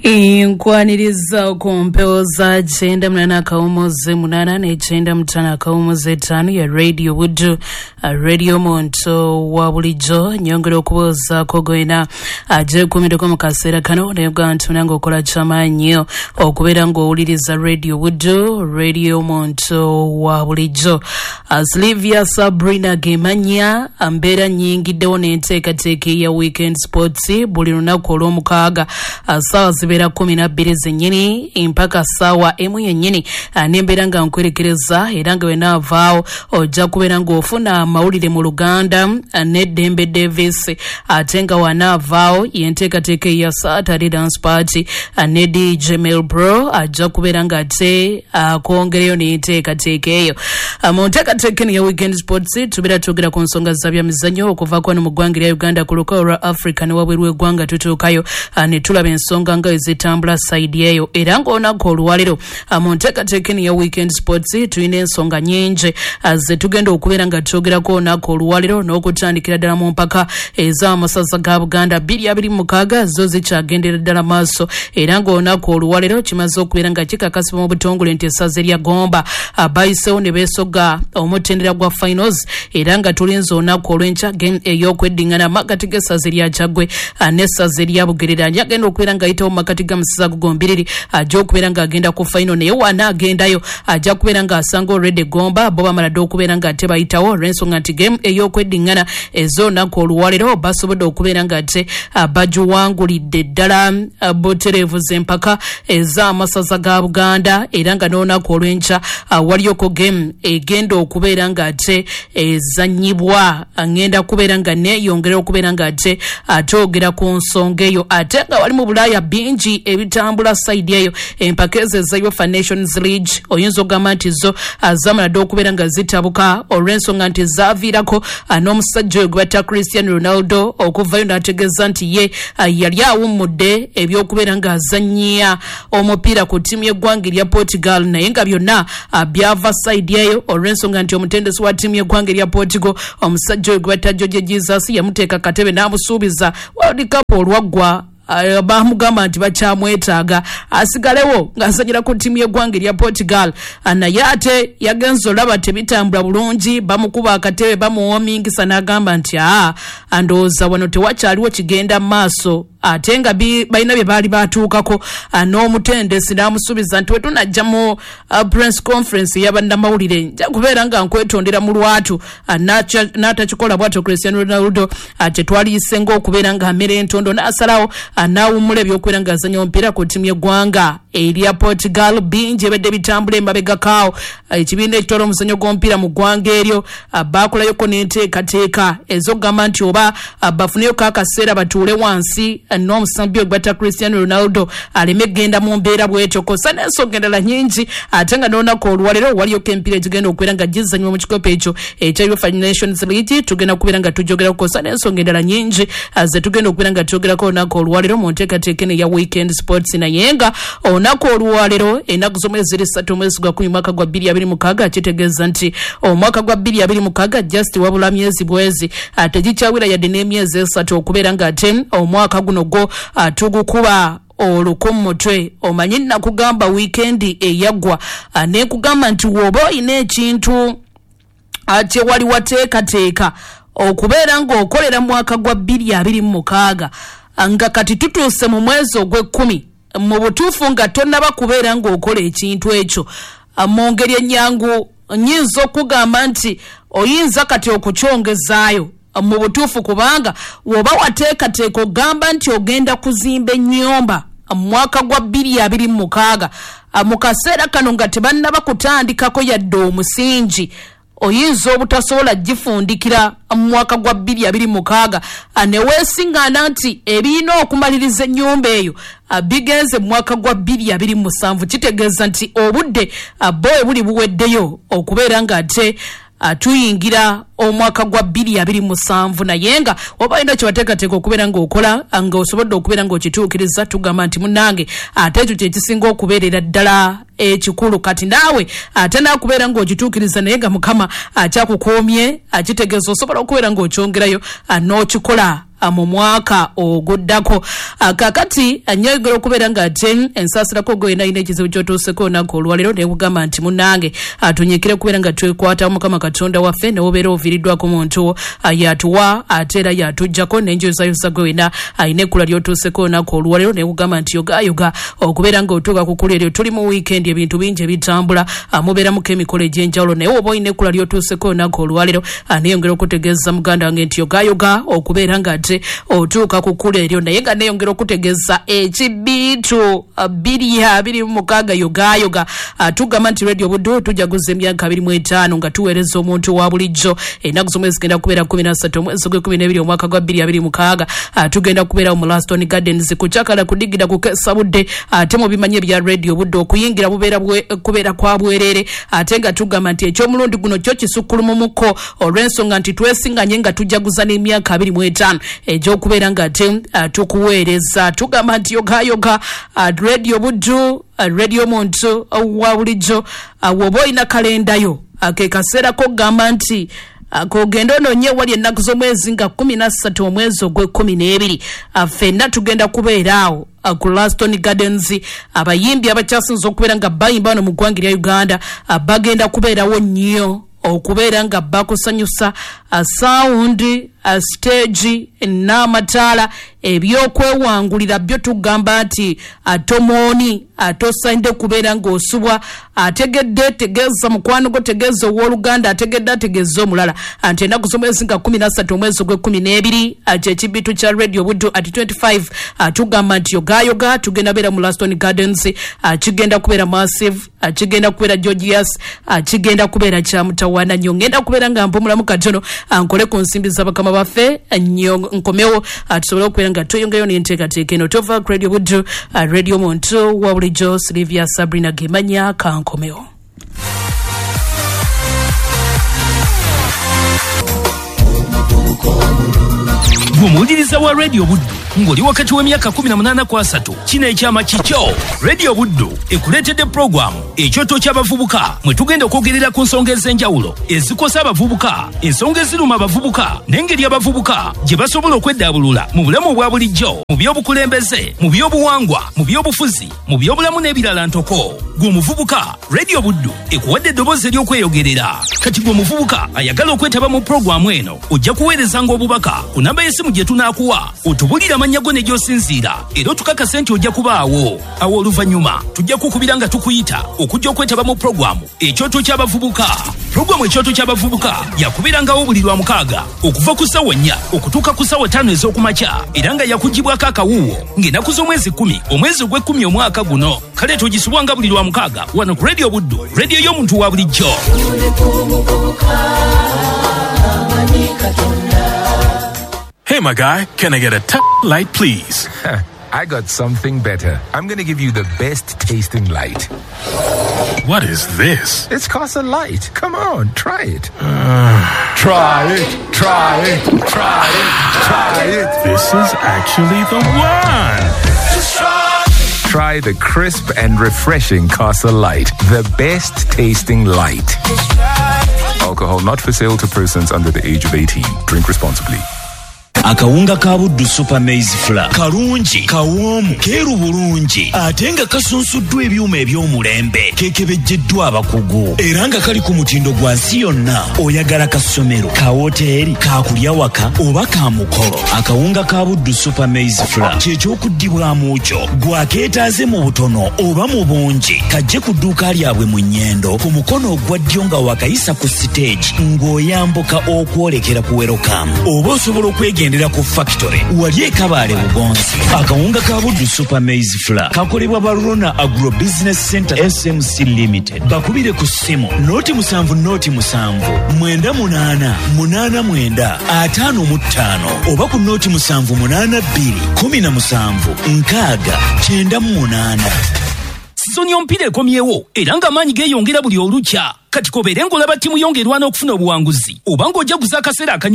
Nkwaniriza ku mpewo za 98.8 ne 95.5 ya Radio Buddu, Radio Muntu wa bulijjo. Nyongera okubuuzaako gwena agyekuumiddeko mu kaseera kano, naye gwa nti munange okola kyamaanyi okubeera ng'owuliriza Radio Buddu, Radio Muntu wa bulijjo. Silvia Sabrina Gemanya, mbeera nnyingiddewo n'enteekateeka eya Weekend Sports buli lunaku olw'omukaaga ssaawa zibeera 12 zennyini mpaka ssaawa 1 yennyini, nembeera nga nkwerekereza, era nga wenaavaawo ojja kubeera ng'ofuna amawulire mu Luganda n'Eddembe Davis, ate nga wanaavaawo yenteekateeka eya Saturday Dance Party ne DJ Melbro ajja kubeera ng'ate akwongereyo n'enteekateeka eyo. Mu nteekateeka eno ya Weekend Sports tubeera twogera ku nsonga za byamizannyo okuva kwano mu ggwanga erya Uganda, ku lukalu lwa Africa ne wabweru w'eggwanga tutuukayo ne tulaba ensonga nga ezitambula sayidi eyo. Era ng'olunaku olwaleero mu nteekateeka eno ya Weekend Sports tulina ensonga nnyingi ze tugenda okubeera nga twogerako olunaku olwaleero, n'okutandikira ddala mu mpaka ez'amasaza ga Buganda 2026 zo zikyagendera ddala maaso, era ng'olunaku olwaleero kimaze okubeera nga kikakasibwa mu butongole nti essaza erya Gomba bayiseewo ne beesogga omutendera gwa finals, era nga tulinze olunaku olw'enkya game ey'okweddingana makati g'essaza erya Kyaggwe n'essaza erya Bugerere. Agenda okubeera ng'ayitawo mu makati ga Musaza Gogombiriri ajja okubeera ng'agenda ku final, naye wana agendayo ajja kubeera ng'asanga already Gomba bo bamala dde okubeera ng'ate bayitawo, olw'ensonga nti game ey'okweddingana ez'olunaku olwaleero basobodde okubeera ng'ate bagiwangulidde ddala butereevu z'empaka ez'amasaza ga Buganda, era nga n'olunaku olw'enkya waliyoko game egenda okubeera ng'ate ezannyibwa. Ngenda kubeera nga neeyongera okubeera ng'ate twogera ku nsonga eyo, ate nga wali mu Bulaaya bingi ebitambula sayidi eyo. Empaka ezo eza UEFA Nations League oyinza okugamba nti zo zamala dde okubeera nga zitabuka, olw'ensonga nti zaaviirako n'omusajja oyo gwe batta Cristiano Ronaldo okuvayo n'ategeeza nti ye yali awummudde ebyokubeera ng'azannya omupiira ku ttiimu y'eggwanga erya Portugal, naye nga byonna byava sayidi eyo, olw'ensonga nti omutendesi wa ttiimu y'eggwanga erya Portugal omusajja oyo gwe batta Jorge Jesus yamuteeka katebe n'amusuubiza World Cup olwaggwa, bamugamba nti bakyamwetaaga asigalewo ng'azanyira ku ttiimu y'eggwanga erya Portugal, naye ate yagenze olaba tebitambula bulungi, bamukuba akatebe bamuwomingisa n'agamba nti ndowooza wano tewakyaliwo kigenda maaso, ate nga balina bye baali batuukako n'omutendesi n'amusuubiza nti wetunajja mu press conference ey'abannamawulire nja kubeera nga nkwetondera mu lwatu, n'atakikola bw'atyo Cristiano Ronaldo kyetwaliyise ng'okubeera ng'amera entondo n'asalawo n'awummula ebyokubeera ng'azannya omupiira ku ttiimu y'eggwanga erya Portugal. Bingi ebadde bitambula emabegakaawo, ekibiina ekitwala omuzannyo gw'omupiira mu ggwanga eryo baakolayoko n'enteekateeka ez'okugamba nti oba bafuneyoko akaseera batuule wansi n'omusambi ogwe batta Cristiano Ronaldo aleme kugenda mu mbeera bw'etyo, kw'ossa n'ensonga endala nnyingi. Ate nga n'olunaku olwaleero waliyoko emipiira egigenda okubeera nga gizannyibwa mu kikopo ekyo ekya UEFA Nations League, tugenda kubeera nga tujogerako, kw'ossa n'ensonga endala nnyingi ze tugenda okubeera nga twogerako olunaku olwaleero mu nteekateeka eno eya Weekend Sports. Naye nga olunaku olwaleero ennaku z'omwezi 3 omwezi gwa 10 mwaka gwa 2026, kitegeeza nti omwaka gwa 2026 just wabula myezi bwezi, tegikyawera yadde n'emyezi 3 okubeera ng'ate omwaka guno gwo tugukuba oluku mu mutwe. Omanyi nakugamba wiikendi eyaggwa nekugamba nti woba oyina ekintu kye wali wateekateeka okubeera ng'okolera mwaka gwa 2026, nga kati tutuuse mu mwezi ogw'ekkumi, mu butuufu nga tonnaba kubeera ng'okola ekintu ekyo, mu ngeri ennyangu nnyinza okugamba nti oyinza kati okukyongezaayo mu butuufu, kubanga woba wateekateeka ogamba nti ogenda kuzimba ennyumba mu mwaka gwa 2026, mu kaseera kano nga tebannaba kutandikako yadde omusingi, oyinza obutasobola gifundikira mu mwaka gwa 2026, ne weesiŋŋaana nti ebirina okumaliriza ennyumba eyo bigenze mu mwaka gwa 2027. Kitegeeza nti obudde bo buli buweddeyo okubeera ng'ate tuyingira omwaka gwa 2027, naye nga oba olina kyewateekateeka okubeera ng'okola nga osobodde okubeera ng'okituukiriza, tugamba nti munnange ate ekyo kye kisinga okubeerera ddala ekikulu. Kati naawe ate naakubeera ng'okituukiriza naye nga Mukama akyakukuumye, akitegeeza osobola okubeera ng'okyongerayo n'okikola. mu mwaka oguddako. Kaakati nyongera okubeera nga ate ensaasirako gwe alina ekizibu ky'otuuseko olunaku olwaleero, nekugamba nti munnange tunyikire kubeera nga twekwata Mukama Katonda waffe, newobeera oviiriddwako muntu yatuwa ate era yatuggyako. Nenjozayoza gwe wena alina ekkula ly'otuuseko olunaku olwaleero, nekugamba nti yogayoga okubeera ng'otuuka ku kkula eryo. Tuli mu wiikendi, ebintu bingi ebitambula, mubeeramuko emikolo egy'enjawulo, naye oba olina ekkula ly'otuuseko olunaku olwaleero, neyongera okutegeeza muganda wange nti yogayoga okubeera nga ate otuuka ku kkula eryo. Naye nga neyongera okutegeeza ekibiitu 2026, yogayoga. Tugamba nti Radio Buddu tujaguza emyaka 25 nga tuweereza omuntu wa bulijjo. Ennaku z'omwezi zigenda kubeera 13 omwezi gw'e12 omwaka gwa 2026. Tugenda kubeera mu Laston Gardens kukyakala kudigida kukesa budde, ate mubimanyi ebya Radio Buddu okuyingira bubeera kubeera kwa bwerere, ate nga tugamba nti eky'omulundi guno kyo kisukkulumumuko olw'ensonga nti twesinganye nga tujaguza n'emyaka 25 egy'okubeera nga ate tukuweereza. Tugamba nti yogayoga, Radio Buddu, radio muntu wa bulijjo. Woba olina kalendayo, ke kaseera k'okugamba nti kogenda onoonye wali ennaku z'omwezi nga 13 omwezi ogw'e12. Ffenna tugenda kubeera awo ku Laston Gardens. Abayimbi abakyasinze okubeera nga bayimba wano mu ggwanga erya Uganda bagenda kubeerawo nnyo okubeera nga bakusanyusa, sound, stage n'amataala ebyokwewangulira byo. Tugamba nti tomooni tosaanidde kubeera ng'osubwa. Ategedde tegeeza mukwano gwo, tegeeza owooluganda, ategedde ategeeza omulala nti ennaku z'omwezi nga 13 omwezi ogw'e12 kyekibitu kya Radio Buddu at 25. Tugamba nti yogayoga, tugenda beera mu Laston Gardens. Kigenda kubeera massive, kigenda kubeera gorgeous, kigenda kubeera kya mutawaana nnyo. Ngenda kubeera nga mpumulamu katono, nkole ku nsimbi z'abakama baffe nnyo, nkomewo tusobole okubeera nga tweyongeyo n'enteekateeka eno. Tova ku Radio Buddu, radio muntu wa bulijjo. Silivia Sabrina Gemanya, kankomewo. Gwe wa Radio Buddu ng'oli wakati w'emyaka 18 ku 30, kino ekyama kikyo. Radio Buddu ekuleetedde pulogulaamu Ekyoto ky'Abavubuka, mwe tugenda okwogerera ku nsonga ez'enjawulo ezikosa abavubuka, ensonga eziruma abavubuka n'engeri abavubuka gye basobola okweddaabulula mu bulamu obwa bulijjo, mu by'obukulembeze, mu by'obuwangwa, mu by'obufuzi, mu by'obulamu n'ebirala ntoko. Gwe omuvubuka, Radio Buddu ekuwadde eddoboozi ery'okweyogerera. Kati gwe omuvubuka ayagala okwetaba mu pulogulaamu eno, ojja kuweerezanga obubaka ku namba y'essimu gye tunaakuwa, otubulire amannya go ne gy'osinziira, era otukakase nti ojja kubaawo. Awo oluvannyuma tujja kukubira nga tukuyita okujja okwetaba mu pulogulaamu Ekyoto ky'Abavubuka. Pulogulaamu Ekyoto ky'Abavubuka yakubeerangawo buli lwa mukaaga okuva ku ssaawa 4 okutuuka ku ssaawa 5 ez'okumakya, era nga yakugibwako akawuuwo ng'ennaku z'omwezi 10 omwezi ogw'e10 omwaka guno. Kale togisubwanga buli lwa mukaaga wano ku Radio Buddu, radio y'omuntu wa bulijjo. Hey, my guy, can I get a light, please? I got something better. I'm going to give you the best tasting light. What is this? It's Casa Light. Come on, try it. Try it, try it, try it, try it. This is actually the one. Try the crisp and refreshing Casa Light, the best tasting light. Alcohol not for sale to persons under the age of 18. Drink responsibly. Akawunga ka Buddu Super Maize Flour kalungi, kawoomu, keeru bulungi, ate nga kasunsuddwa ebyuma eby'omulembe, kekebejjeddwa abakugu, era nga kali ku mutindo gwa nsi yonna. Oyagala ka ssomero, ka woteeri, kakulya waka oba ka mukolo, akawunga ka Buddu Super Maize Flour kyekyokuddibwamu kyo. Gwakeetaaze mu butono oba mu bungi, kajje ku dduuka lyabwe mu Nnyendo, ku mukono ogwa ddyo nga wakayisa ku siteegi ng'oyambuka okwolekera ku Werokamu, oba osobola okwegendera ku factory wali ekabaale Bugonzi. Akawunga ka Buddu Super Maize Flour kakolebwa Barona Agro Business Center SMC Limited. Bakubire ku ssimu 070 07 98 89 55 oba ku 0782 17 60 98. Sizoni y'omupiira ekomyewo, era ng'amaanyi geeyongera buli olukya. Kati kobeere ng'olaba ttiimu yo ng'erwana okufuna obuwanguzi oba ng'ojaguza akaseera akanyuvu.